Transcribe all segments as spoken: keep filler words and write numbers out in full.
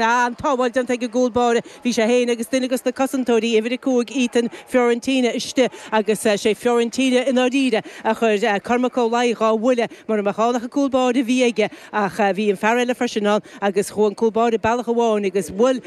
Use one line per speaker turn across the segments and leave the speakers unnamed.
An tsábháil déanta ag an gcúl báire. Bhí sé féin agus duine de na cosantóirí, uimhir a cúig, Ethan Fiorentina, istigh agus sé Fiorentina i ndáiríre a chuir Cormac Ó Laoi dhá bhuille mura mbeadh ann ach an cúl báire a bhí aige ach bhí an fear eile freisin ann agus chuaigh an cúl báire bealach amháin agus bhuail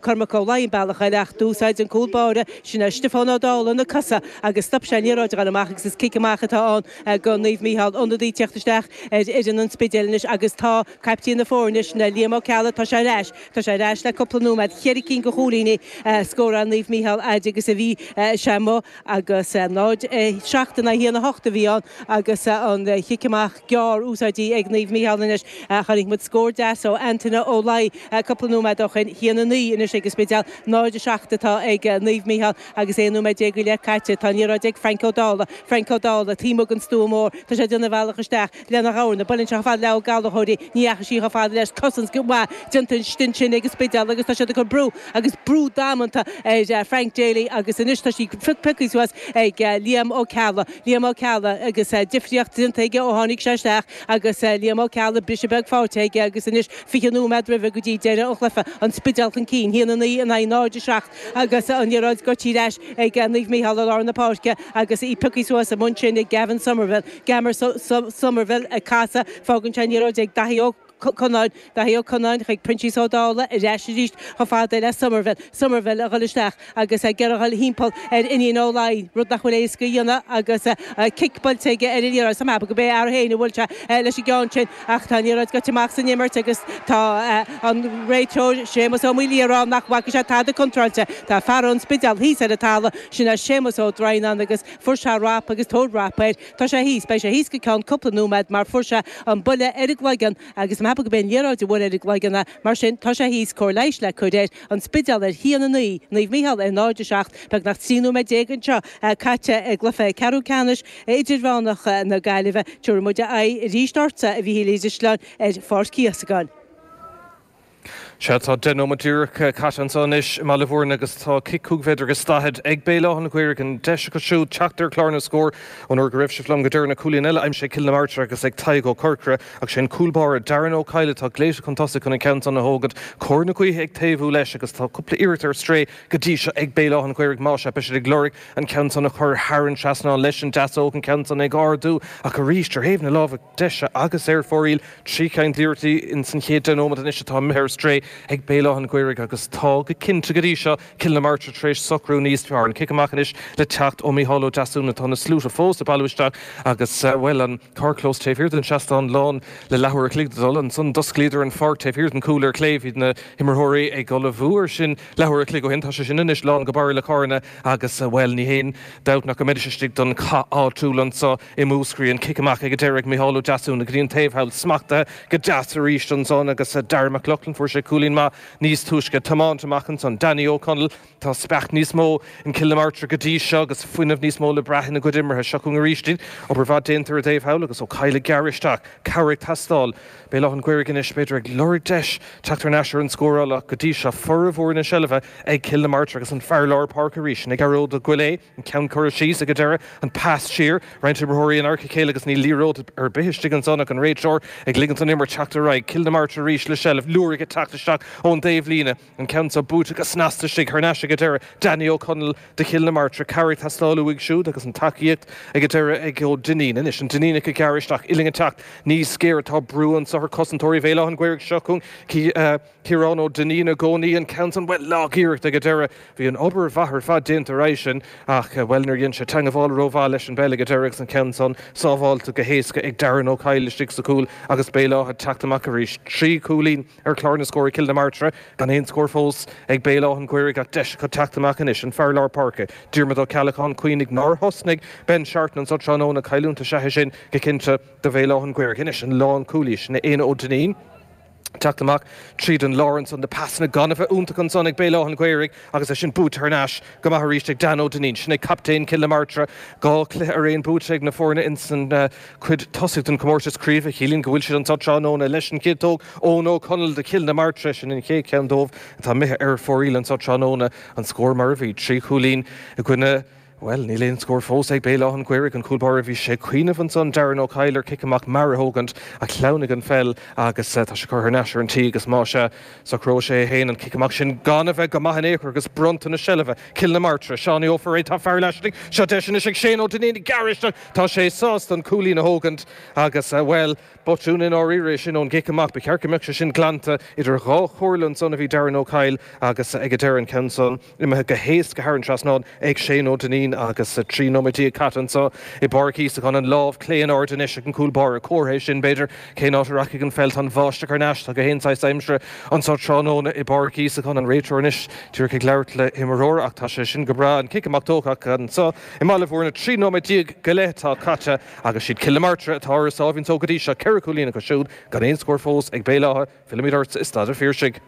Cormac Ó Laoi an bealach eile ach d'úsáid an cúl báire sin é Stiofán Ó Dálaigh na cosa agus stop sé an liathróid a dhul amach agus is cic amach atá ann go Naomh Mícheál. Ionadaí ag teacht isteach ar fhoireann an Spidéil anois agus tá caiptín na foirne sin é Liam Ó Ceallaigh, tá sé ar ais. Tá sé ar ais le cúpla nóiméad. Cheithre cinn de chúilíní scóráilte Naomh Mícheál fhaid agus a bhí sé amuigh agus náid seacht in aghaidh a haon a hocht a bhí ann agus an chic amach gearr úsáidte ag Naomh Mícheál anois. Chonaic muid scór deas ó Antaine Ó Laoi cúpla nóiméad ó shin. Haon a naoi anois ag an Spidéal, náid a seacht atá ag Naomh Mícheál agus aon nóiméad déag go leith caite. Tá an liathróid ag Frank Ó Dálaigh. Frank Ó Dálaigh taobh amuigh den stua mór. Tá sé ag déanamh a bhealach isteach lena ghamhna. Buaileann sé chomh fada le Ó Gallchóir í. Ní dheachaigh sí chomh fada leis. Cosaint mhaith déanta ansin ag an Spidéal agus tá siad ag cur brú agus brú damanta ar Frank Daly agus anois tá sí pioctha suas ag Liam Ó Ceallaigh. Liam Ó Ceallaigh agus difríocht déanta aige ó tháinig sé isteach agus Liam Ó Ceallaigh briseadh beag faighte aige agus anois fiche nóiméad roimhe go dtí deireadh an chluiche, an Spidéal chun cinn, haon a naoi in aghaidh náid a seacht agus an liathróid gaibhte ar ais ag Naomh Mícheál i lár na páirce agus í pioctha suas amuigh ansin ag Gavin Somerville. Gavin Somerville ag casadh, fágann sé an liathróid ag Daithí Ó Connáin, Daithí Ó Connáin chuig Proinsias Ó Dálaigh ar ais arís chomh fada le Somerville, Somerville a dhul isteach agus ag iarraidh a dhul thimpeall ar Fhinian Ó Laoi, rud nach bhfuil éasca a dhéanamh agus cic buailte aige ar an liathróid. Tá mé ag ceapadh gurb é a fhear féin a bhuail sé leis an gceann sin ach tá an liathróid gaibhte amach as an imirt agus tá an réiteoir Séamus Ó Maolaodha ag rá nach bhfaca sé tada contráilte. Tá fear ón Spidéal thíos ar an talamh, sin é Séamus Ó Droighneáin agus fuair sé rap agus tabhair rap air. Tá sé thíos, beidh sé thíos go ceann cúpla nóiméad mar fuair sé an buille ar an gcloigeann agus tá mé ag ceapadh gurb é an liathróid a bhuail ar an gcloigeann é. Mar sin, tá sé thíos, cóir leighis le cur air, An Spidéal ar haon a naoi, Naomh Mícheál ar náid a seacht, beagnach trí nóiméad déag anseo caite i gcluiche ceathrú ceannais idirmheánach na Gaillimhe. Tabharfaidh muid aghaidh arís ortsa, a Mhíchíl Uí Drisleáin, ar Pháirc Íosagáin.
Sea, tá deich nóiméad díreach caite anseo anois i mBaile Bhúirne agus tá cic cúig mhéadar agus daichead ag Béal Átha an Ghaorthaidh. An deis acu siúd teacht ar chlár na scór ón uair go raibh sibh liom go deireanach. Cúilín eile aimsithe ag Cill na Martra agus ag Tadhg Ó Corcora ach sé an cúl báire Darren Ó Cadhla atá glaoite chun tosaigh chun an ceann san a thógaint. Cóir na gaoithe ag taobhú leis agus tá cúpla iarracht ar strae go dtí seo ag Béal Átha an Ghaorthaidh. Más ea, beidh siad ag lorg an ceann san a chur thar an trasnán leis an deasóg, an ceann san ag ardú ach arís ar thaobh na láimhe deise agus ar fóraoil. Trí cheann d'iarrachtaí ins an chéad deich nóiméad anois atá imithe ar strae ag Béal Átha an Ghaorthaidh agus tá go cinnte go dtí seo Cill na Martra tar éis socrú níos fearr. An cic amach anois le teacht ó Mícheál Ó Deasúna. Tá na sluaite fós ag bailiú isteach agus, bhuel, an carrchlós taobh thiar den seastán lán le leathuair a chloig le dul. Ansan d'osclaíodar an pháirc taobh thiar den chúl ar chlé. Bhí na himreoirí ag ullmhú ar sin leathuair a chloig ó shin. Tá sé sin anois lán go barra le carranna agus, bhuel, ní haon dabht nach go mbeidís istigh don chath áitiúil anso i Múscraí. An cic amach ag an deireadh ag Micheál Ó Deasúna go dtí an taobh thall, smachtaithe go deas arís ansan agus Darragh McLoughlin, fuair sé cúilín maith níos túisce, tiomáint amach ansan. Danny Ó Conaill, tá speach níos mó in Cill na Martra go dtí seo agus fuinneamh níos mó le brath ina gcuid imeartha. Seo chugainn arís iad. Obair mhaith déanta ar an dtaobh thall agus Ó Cadhla ag gearradh isteach. Cabhair ag teastáil. Béal Átha an Ghaorthaidh anois, b'fhéidir, ag lorg deis teacht thar n-ais ar an scóráil ach go dtí seo formhór na seilbhe ag Cill na Martra agus an fear lár páirce arís, sin é Gearóid Ó Goill, an ceann curtha síos ag an deireadh, an pas siar, roinnt imreoirí in adharca a chéile agus níl liathróid ar bith istigh ansan ach an réiteoir ag ligint don imirt teacht ar aghaidh. Cill na Martra arís le seilbh, Lúraigh ag teacht isteach ón dtaobhlíne, an ceann seo buaite go snasta istigh thar n-ais ag an deireadh, Danny Ó Conaill do Chill na Martra, cabhair ag teastáil uaidh siúd agus an tacaíocht ag an deireadh ag Ó Duinnín. Anois an Duinníneach ag gearradh isteach, Uillinn ag teacht níos géire, tá brú anso ar chosantóirí Bhéal Átha an Ghaorthaidh. Seo chugainn Ciarán Ó Duinnín i gcónaí, an ceann san, bhuel, lag-iarracht ag an deireadh. Bhí an obair mhaith ar fad déanta ar aghaidh sin ach, bhuel, níor dhein sé teangabháil rómhaith leis an bpeil ag an deireadh agus an ceann san sábháilte go héasca ag Darren Ó Cadhla istigh sa chúl agus Béal Átha ag teacht amach arís. Trí chúilín ar chlár na scór ag Cill na Martra, gan aon scór fós ag Béal Átha an Ghaorthaidh ach deis acu teacht amach anois. An fear lár páirce, Diarmuid Ó Ceallacháin, cuimhnigh nár thosnaigh Ben Sharpton anso tráthnóna, cailliúint is ea é sin go cinnte do Bhéal Átha an Ghaorthaidh. Anois an lánchúlaí, sin é Éanna Ó Duinnín. Teacht amach tríd an lár ansan, na pasanna gan a bheith iontach ansan ag Béal Átha an Ghaorthaidh agus é sin buaite thar n-ais go maith arís ag Dan Ó Duinnín. Sin é captaen Cill na Martra. Dhá chluiche ar aon buaite ag na foirne insan chuid tosaigh den chomórtas craoibhe. Ciallaíonn go bhfuil siad anso tráthnóna leis an chiotóg. Eoin Ó Conaill do Chill na Martra. Sin an chéad cheann dóibh atá imithe ar fóraoil anso tráthnóna. An scór mar a bhí, trí chúilín i gcoinne. Well, níl aon scór fós ag Béal Átha an Ghaorthaidh an cúl báire bhí sé cuimhneamh ansan Darren Ó Cadhail ar cic amach mear a thógaint a shleamhnaigh an pheil agus tá sé curtha thar n-ais ar an tí agus má sea socróidh sé féin an cic amach sin gan a bheith go maith in aon chor agus bronntanas seilbhe Cill na Martra Seánie Ó Fearraigh tá fear laistigh seo deis anois ag Shane Ó Duinnín gearr tá sé sásta an cúilín a thógaint agus well botún in áirithe sin ón gcic amach ba cheart go mbeadh sé sin glanta idir dhá chomhairle ansan a bhí Darren Ó Cadhail agus ag an deireadh an ceann san imithe go héasca thar an trasnán ag Shane Ó Duinnín agus trí nóiméad déag caite anseo i bPáirc Íosagáin an lámh clé in airde anois ag an cúl báire comhartha sin b'fhéidir cén áit a rachaidh an pheil tá an bháisteach thar n-ais tá gach aon saghas aimsire anseo tráthnóna i bPáirc Íosagáin an réiteoir anois díreach ag labhairt le himreoir ach tá sé sin go breá an cic amach tógtha anseo i mBaile Bhúirne trí nóiméad déag go leith atá caite agus siad Cill na Martra atá ar a sáimhín só go dtí seo ceithre chúilín acu siúd gan aon scór fós ag Béal Átha fillimid ort i Staid an Phiarsaigh.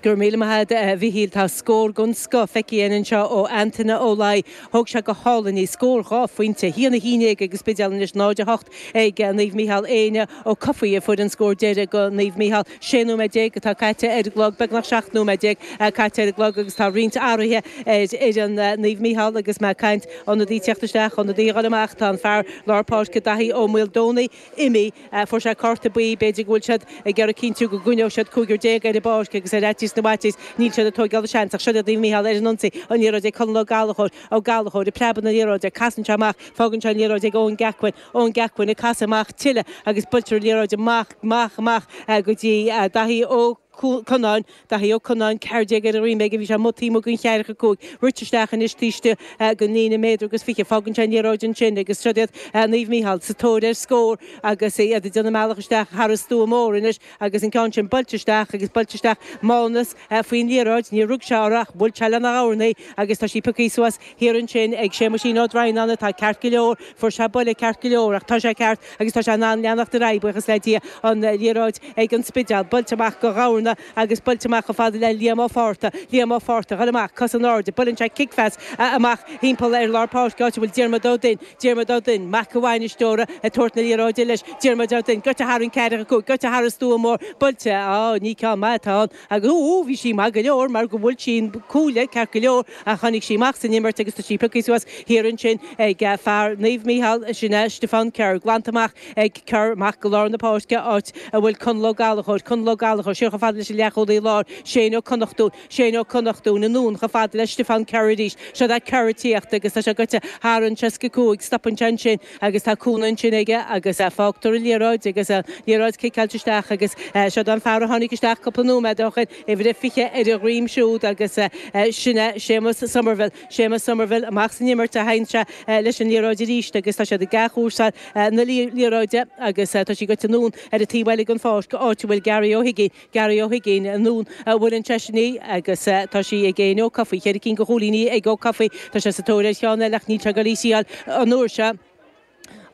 Go raibh míle maith agat a Mhíchíl tá scór den scoth feicthe anseo ó Antaine Ó Laoi thóg sé go hálainn í scór dhá phointe haon a haon déag ag an Spidéal anois náid a hocht ag Naomh Mícheál Éanna Ó Cofaigh a fuair an scór deiridh do Naomh Mícheál sé nóiméad déag atá caite ar an gclog beagnach seacht nóiméad déag caite ar an gclog agus tá roinnt athruithe ar fhoireann Naomh Mícheál agus mé ag caint ionadaí teacht isteach ionadaí a dhul amach tá an fear lár páirce Daithí Ó Maoldomhnaigh imithe fuair sé cárta buí b'fhéidir go bhfuil siad ag iarraidh cinntiú go gcoinneoidh siad cúigear déag ar an bpáirc agus ar fhaitíos na bhfaitíos níl siad ag tógáil seans ach seo Naomh Mícheál ar an ionsaí an liathróid ag Conall Ó Gallchóir Ó Gallchóir ag preabadh na liathróide casann sé amach fágann sé an liathróid ag Eoin Gacquin Eoin Gacquin ag casadh amach tuilleadh agus buailtear an liathróid amach amach amach go dtí Daithí Ó Conáin Daithí Ó Conáin ceathair déag ar a dhroim aige bhí sé amuigh taobh amuigh den cheathracha cúig rite isteach anois taobh istigh den líne méadar agus fiche fágann sé an liathróid ansin agus seo iad Naomh Mícheál sa tóir ar scór agus iad ag déanamh a mbealach isteach thar an stua mór anois agus an ceann sin buailte isteach agus buailte isteach Mánas faoin liathróid níor rug sé uirthi ach bhuail sé lena ghamhna í agus tá sí pioctha suas thiar ansin ag Séamuisín Ó Droighneáin atá ceart go leor fuair sé buille ceart go leor ach tá sé ceart agus tá sé in ann leanacht ar aghaidh buíochas le Dia an liathróid ag an Spidéal buailte amach go Ghamhna agus buailte amach chomh fada le Liam Ó Fátharta Liam Ó Fátharta dhul amach cos in airde buaileann sé cic-phas amach timpeall ar lár páirce áit a bhfuil Diarmuid Ó Duinn Diarmuid Ó Duinn mac an bhainisteora ag tabhairt na liathróide leis Diarmuid Ó Duinn goite thar an ceathracha cúig goite thar an stua mór buailte á ní ceann maith atá ann agus ó bhí sí maith go leor mar go bhfuil sí cúile ceart go leor a tháinig sí amach san imirt agus tá sí pioctha suas thiar ansin ag fear Naomh Mícheál sin é Stiofán Kerr glanta amach ag Kerr amach go lár na páirce áit a bhfuil Conall Ó Gallchóir Conall Ó Gallchóir siar chomh fada leis an leathchúlaí láir Shane Ó Connachtúin Shane Ó Connachtúin anonn chomh fada le Stiofán Kerr arís seo é Kerr ag tíocht agus tá sé goite thar an seasca cúig stopann sé ansin agus tá cúnamh ansin aige agus fágtar an liathróid agus liathróid ciceáilte isteach agus seo an fear a tháinig isteach cúpla nóiméad ó shin uimhir a fiche ar a dhroim siúd agus sin é Séamus Somerville Séamus Somerville amach san imirt a théann sé leis an liathróid arís agus tá siad ag athchúrsáil na liathróide agus tá sí goite anonn ar an taobh eile den pháirc áit a bhfuil Gary Ó hUiginn Gary Ó hUiginn anonn a bhfuil an seisean agus tá sí ag Éanna Ó Cofaigh ceithre cinn de chúilíní ag Ó Cofaigh tá sé sa tóir ar cheann eile ach níl sé ag dul í a fháil an uair seo.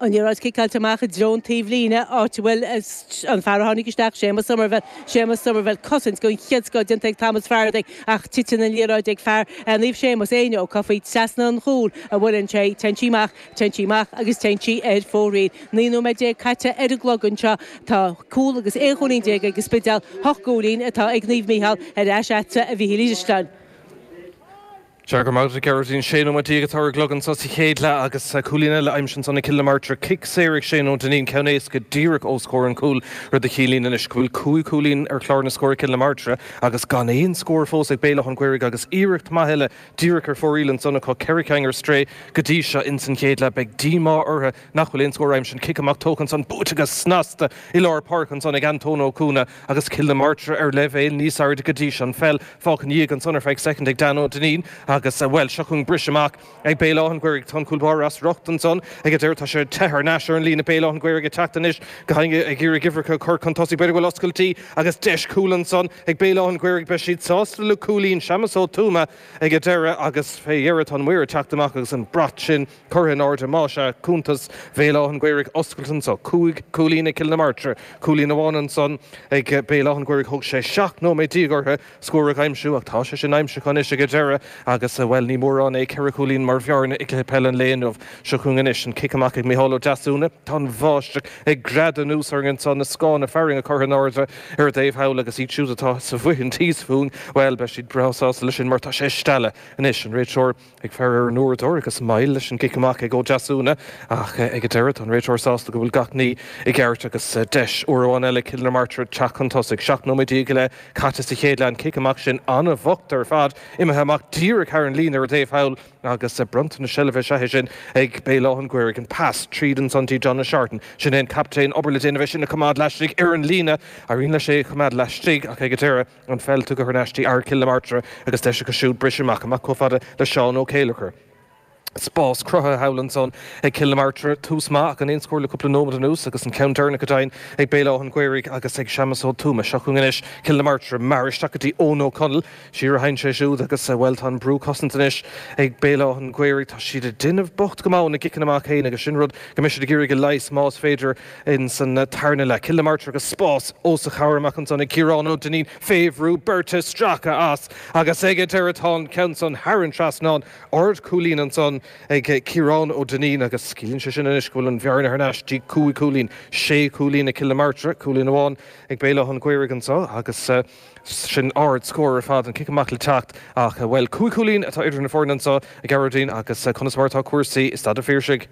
An liathróid ciceáilte amach i dtreo an taobh líne áit a bhfuil an fear a tháinig isteach Séamus Somerville Séamus Somerville cosaint den chéad scoth déanta ag Thomas Faraday ach titeann an liathróid ag fear Naomh Séamus Éanna Ó Cofaigh trasna an chúil a bhfuil sé téann sí amach téann sí amach agus téann sí ar fóraoil. Naoi nóiméad déag caite ar an gclog anseo tá cúl agus aon chúilín déag ag an Spidéal hocht gcúilín atá ag Naomh Mícheál ar ais agatsa a Mhíchíl Uí Drisleáin.
Sea go raibh maith agat Gearóidín sé nóiméad déag atá ar an gclog anseo sa chéad leath agus cúilín eile aimsithe ansan ag Cill na Martra cic saor ag Shane Ó Duinnín ceann éasca díreach os comhair an chúil rud a chiallaíonn anois go bhfuil cúig chúilín ar chlár na scór ag Cill na Martra agus gan aon scór fós ag Béal Átha an Ghaorthaidh agus iarracht maith eile díreach ar fóraoil ansan acu ceithre cinn ar strae go dtí seo ins an chéad leath beidh díomá orthu nach bhfuil aon scór aimsithe an cic amach tógtha ansan buailte go snasta i lár páirce ansan ag Antóin Ó Cuana agus Cill na Martra ar leibhéal níos airde go dtí seo an pheil fágtha ina dhiaidh ansan ar feadh soicind ag Dan Ó Duinnín agus well seo chugainn briseadh amach ag Béal Átha an Ghaorthaidh tá an cúl báire as riocht ansan ag an deireadh tá sé te thar n-ais ar an líne Béal Átha an Ghaorthaidh ag teacht anois go hainge ag iarraidh uimhreacha chur chun tosaigh b'fhéidir go bhfuil oscailtí agus deis cúl ansan ag Béal Átha an Ghaorthaidh beidh siad sásta le cúilín Séamus Ó Tuama ag an deireadh agus fé dheireadh tá an maor ag teacht amach agus an brat sin curtha in airde más ea cuntas Bhéal Átha an Ghaorthaidh oscailte anseo cúig cúilín ag Cill na Martra cúilín amháin ansan ag Béal Átha an Ghaorthaidh thóg sé seacht nóiméad déag orthu scór a aimsiú ach tá sé sin aimsithe anois ag an deireadh agus agus bhuel ní mórán é ceithre chúilín mar bhearna i gcluiche peile an lae inniu. Seo chugainn anois an cic amach ag Micheál Ó Deasúna. Tá an bháisteach ag greadadh anuas orainn anso, na scáthanna fearthainne curtha in airde ar an dtaobh thall agus iad siúd atá sa bhuíon thíos fúinn, bhuel beidh siad breá sásta leis sin mar tá sé ag stealladh anois. An réiteoir ag faire ar an uaireadóir agus moill leis an gcic amach ag Ó Deasúna ach ag an deireadh tá an réiteoir sásta go bhfuil gach ní i gceart agus deis uair amháin eile Cill na Martra teacht chun tosaigh. Seacht nóiméad déag go leith caite sa chéad leath, an cic amach sin an-bhocht ar fad, imithe amach díreach thar an líne ar an dtaobh thall agus bronnta na seilbhe is ea é sin ag Béal Átha an Ghaorthaidh. An pas tríd ansan dtí John O'Shartan. Sin é an captaen, obair le déanamh é sin a choimeád laistigh ar an líne. Éiríonn leis é a choimeád laistigh ach ag an deireadh an pheil tugtha thar n-ais dtí fhear Chill na Martra agus deis acu siúd briseadh amach, amach chomh fada le Seán Ó Céileachair. Spás cruthaithe thall ansan ag Cill na Martra, tús maith ach an aon scór le cúpla nóiméad anuas agus an ceann deireanach go deimhin ag Béal Átha an Ghaorthaidh agus ag Séamus Ó Tuama. Seo chugainn anois Cill na Martra, mear isteach go dtí Eoin Ó Conaill. Siar a théann sé siúd agus, bhuel, tá an brú cosanta anois ag Béal Átha an Ghaorthaidh. Tá siad ag déanamh bocht go maith na gciceanna amach féin agus sin rud go mbeidh siad ag iarraidh a leigheas más féidir in san tarna leath. Cill na Martra agus spás os a chomhair amach ansan ag Ciarán Ó Duinnín fé bhrú beirte stractha as agus ag an deireadh tá an ceann san thar an trasnán. Ardchúilín ansan ag Ciarán Ó Duinnín agus ciallaíonn sé sin anois go bhfuil an bhearna thar n-ais dtí cúig chúilín, sé chúilín ag Cill na Martra, cúilín amháin ag Béal Átha an Ghaorthaidh anseo agus sin ard-scór ar fad, an cic amach le teacht ach, bhuel, cúig chúilín atá idir na foirne anseo, a Ghearóidín, agus conas mar atá cúrsaí i Staid an Phiarsaigh?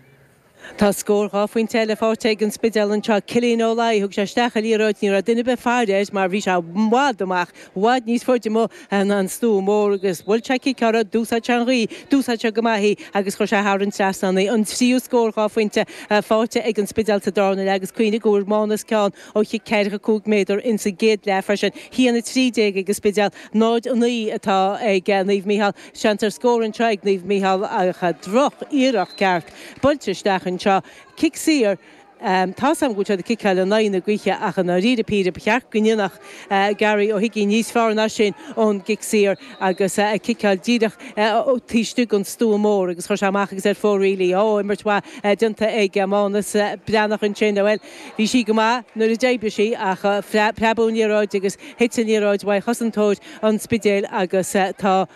Tá scór dhá phointe eile faighte ag an Spidéal anseo. Cillian Ó Laoi, thug sé isteach an liathróid, ní raibh duine ar bith ag faire air mar bhí sé i bhfad amach, i bhfad níos faide amuigh ná an stua mór agus bhuail sé cic orthu, d'úsáid sé an ghaoth, d'úsáid sé go maith í agus chuir sé thar an trasnán í. An tríú scór dhá phointe faighte ag an Spidéal sa darna leath agus cuimhnigh go bhfuair Mánas ceann ó chic ceathracha cúig méadar insa gcéad leath freisin. Haon a trí déag ag an Spidéal, náid a naoi atá ag Naomh Mícheál. Seans ar scór anseo ag Naomh Mícheál ach droch-iarracht ceart buailte isteach anseo. Cic saor, Tá's agam go bhfuil siad ag ciceáil in aghaidh na gaoithe ach i ndáiríre píre ba cheart go ndéanfadh Gary Ó hUiginn níos fearr ná sin ón gcic saor agus ag ciceáil díreach taobh istigh den stua mór agus chuir sé amach agus ar fóraoil í. Ó, imirt mhaith déanta ag Mánas Breathnach ansin. Bhuel, bhí sí go maith nuair a d'oibrigh sí ach preabadh an liathróid agus thit an liathróid uaidh chosantóir an Spidéil agus tá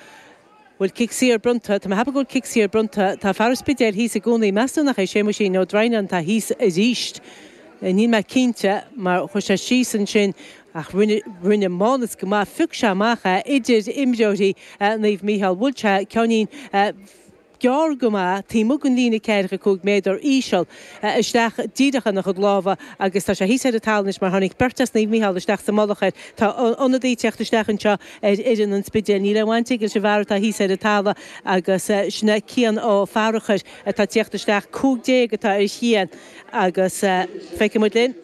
Bhfuil cic saor bronnta? Tá mé ag ceapadh go bhfuil cic saor bronnta. Tá fear an Spidéil thíos i gcónaí. Meas tú nach é Séamuisín Ó Droighneáin atá thíos arís? Níl mé cinnte mar chuir sé síos ansin ach rinne, rinne Mánas go maith. Phioc sé amach é idir imreoirí Naomh Mícheál. Bhuail sé ceainnín gearr go maith taobh amuigh den líne ceathracha cúig méadar, íseal, isteach díreach ina chuid lámha agus tá sé thíos ar an talamh anois mar tháinig beirt as Naomh Mícheál isteach sa mullach air. Tá ionadaí ag teacht isteach anseo ar fhoireann an Spidéil. Níl aon bhaint aige leis an bhfear atá thíos ar an talamh agus sin é Cian Ó Fearchair atá ag teacht isteach. Cúig déag atá ar Chian agus feicfidh muid linn.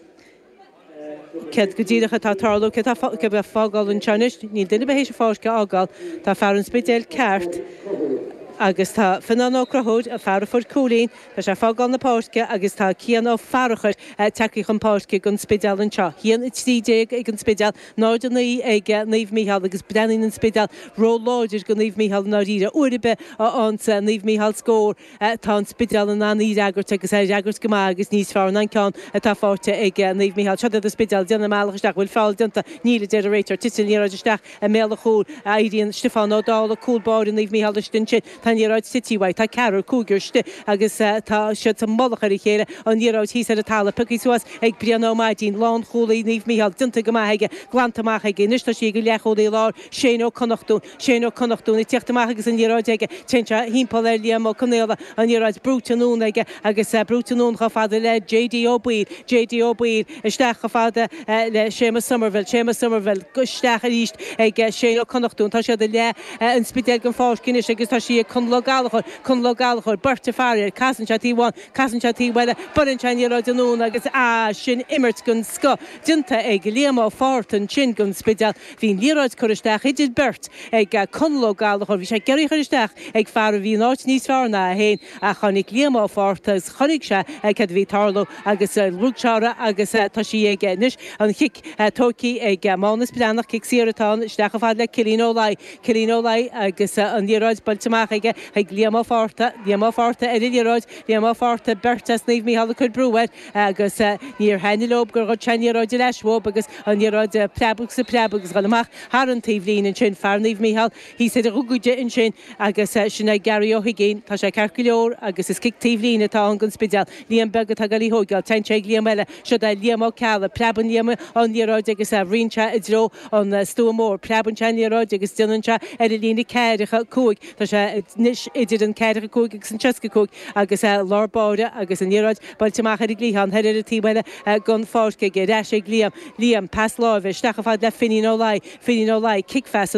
Céard go díreach atá ag tarlú? Cé atá ag fágáil anseo anois? Níl duine ar bith théis an pháirc a fhágáil. Tá fear an Spidéil ceart agus tá Fionnán Ó Conchúir, an fear a fuair cúilín, tá sé ag fágáil na páirce agus tá Cian Ó Fearchair tagtha chun páirce don Spidéal anseo. Haon a trí déag ag an Spidéal, náid a naoi ag Naomh Mícheál agus breathnaíonn an Spidéal ró-láidir do Naomh Mícheál i ndáiríre. Uair ar bith a fhaigheanns Naomh Mícheál scór, Tá an Spidéal in ann í a fhreagairt agus é a fhreagairt go maith agus níos fearr ná an ceann atá faighte ag Naomh Mícheál. Seo iad an Spidéal, déanamh a mbealach isteach. Bhfuil feall déanta? Níl, a deir an réiteoir. Titeann an liathróid isteach i mbéal an chúil. Éiríonn Stiofán Ó Dálaigh, cúl báire Naomh Mícheál istigh ansin. Tá an liathróid tite uaidh. Tá ceathrar, cúigear istigh agus tá siad sa mullach ar a chéile. An liathróid thíos ar an talamh. Pioctha suas ag Brian Ó Maidín, lánchúlaí Naomh Mícheál. Déanta go maith aige. Glanta amach aige. Anois tá sí ag an leathchúlaí láir, Shane Ó Connachtúin. Shane Ó Connachtúin ag tíocht amach agus an liathróid aige. Téann sé thimpeall ar Liam Ó Conaola, an liathróid brúite anonn aige agus brúite anonn chomh fada le J D Ó Baoill, J D Ó Baoill isteach chomh fada le Séamus Somerville, Séamus Somerville isteach arís ag Shane Ó Connachtúin. Tá siad i leath an Spidéil den pháirc anois agus tá sí ag Conall Ó Gallchóir, Conall Ó Gallchóir, beirt ag faire air, casann sé taobh amháin, casann sé taobh eile, buaileann sé an liathróid anonn agus ah sin imirt den scoth déanta ag Liam Ó Fátharta ansin don Spidéal. Bhí an liathróid curtha isteach idir beirt ag Conall Ó Gallchóir. Bhí sé ag iarraidh í a chur isteach ag fear a bhí in áit níos fearr ná é féin ach tháinig Liam Ó Fátharta agus chonaic sé céard a bhí ag tarlú agus rug sé uirthi agus tá sí aige anois. An chic tógtha ag Mánas Breathnach, cic saor atá ann, isteach chomh fada le Cillian Ó Laoi. Cillian Ó Laoi agus an liathróid buailte amach aige. aige chuig Liam Ó Fátharta, Liam Ó Fátharta ar an liathróid, Liam Ó Fátharta beirt as Naomh Mícheál ag cur brú air agus níor thaitnigh leob gur ghoid sé an liathróid ar ais uathub agus an liathróid ag preabadh is ag preabadh agus dhul amach thar an taobhlíne ansin, fear Naomh Mícheál thíos ar a ghogaide ansin agus sin é Gary Ó hUiginn, tá sé ceart go leor agus is cic taobhlíne atá ann don Spidéal. Liam beag atá ag dul í thóigeáil, téann sé ag Liam eile, siod é Liam Ó Ceallaigh, preabann Liam an liathróid agus ritheann sé i dtreo an stua mór, preabann sé an liathróid agus déanann sé ar an líne ceathracha cúig, tá sé anois idir an ceathracha cúig agus an seasca cúig agus lár báire agus an liathróid buailte amach ar an gcliathán thoir ar an taobh eile den pháirc aige, ar ais ag Liam, Liam, pas láimhe isteach chomh fada le Finín Ó Laoi, Finín Ó Laoi, cic phas